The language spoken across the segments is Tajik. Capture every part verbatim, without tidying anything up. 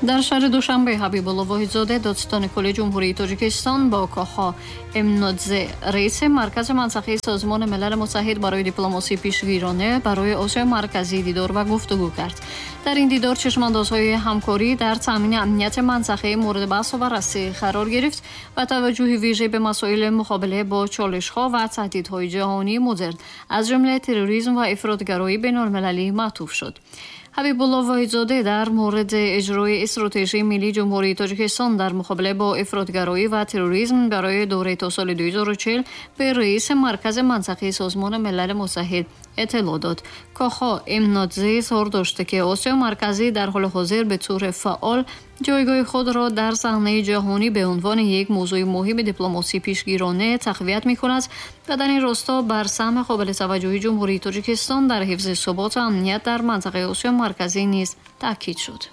Дар шаҳри Душанбе Ҳабибулло Воҳидзода, додситони кулли Ҷумҳурии Тоҷикистон, бо Кохо Имнодзе, раиси Маркази мансақии Созмони Милали Муттаҳид барои дипломасии пешгирона барои Осиёи Марказӣ дидор ва гуфтугӯ кард. Дар ин дидор чашмандозҳои ҳамкорӣ дар таъмини амнияти мансақаи мавриди баҳсу баррасӣ қарор гирифт ва таваҷҷӯҳи вижа ба масоили муқобила бо чолишҳо ва таҳдидҳои ҷаҳонии модерн, аз ҷумла терроризм ва ифротгароии байналмилалӣ маътуф шуд. Ҳабибулло Воҳидзода дар мавриди иҷрои стратегияи миллии Ҷумҳурии Тоҷикистон дар муқобила бо ифротгароӣ ва терроризм барои давраи то соли ду ҳазору чил ба раиси Маркази мансақии Созмони Милали Муттаҳид иттилоъ дод. Кохо Имнодзе изҳор дошт, ки Осиёи Марказӣ дар ҳоли ҳозир ба таври фаъол ҷойгоҳи худро дар саҳнаи ҷаҳонӣ ба унвони як мавзӯи муҳими дипломасии пешгирона тақвият мекунад ва дар ин росто бар саҳми қобили таваҷҷӯҳи Ҷумҳурии Тоҷикистон дар ҳифзи субот ва амният дар минтақаи Осиёи Марказӣ низ таъкид шуд.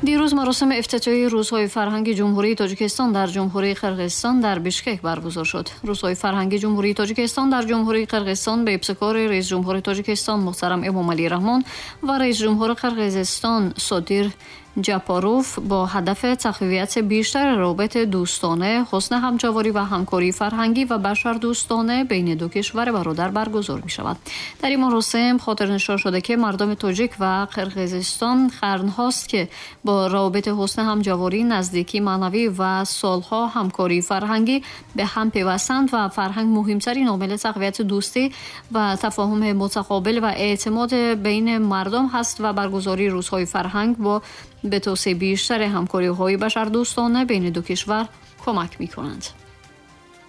Дирӯз маросими ифтитоҳияи Рӯзҳои фарҳанги Ҷумҳурии Тоҷикистон дар Ҷумҳурии Қирғизистон дар Бишкек баргузор шуд. Рӯзҳои фарҳанги Ҷумҳурии Тоҷикистон дар Ҷумҳурии Қирғизистон ба ибтикори раисҷумҳури Тоҷикистон муҳтарам Эмомалӣ Раҳмон ва раисҷумҳури Қирғизистон Содир Ҷапаров бо ҳадафи тақвияти бештари робитаи дӯстона, ҳусни ҳамҷаворӣ ва ҳамкории фарҳангӣ ва башардӯстона байни ду кишвари бародар баргузор мешавад. Дар ин маросим хотирнишон шуда, ки мардуми тоҷик ва Қирғизистон қарнҳост, ки бо робитаи ҳусни ҳамҷаворӣ, наздикии маънавӣ ва солҳо ҳамкории фарҳангӣ ба ҳам пайвастанд ва фарҳанг муҳимтарин омили тақвияти дӯстӣ ва тафоҳуми мутақобил ва эътимод байни мардум ҳаст ва баргузории рӯзҳои фарҳанг бо به توسعه بیشتر همکاری‌های بشردوستانه بین دو کشور کمک می‌کنند.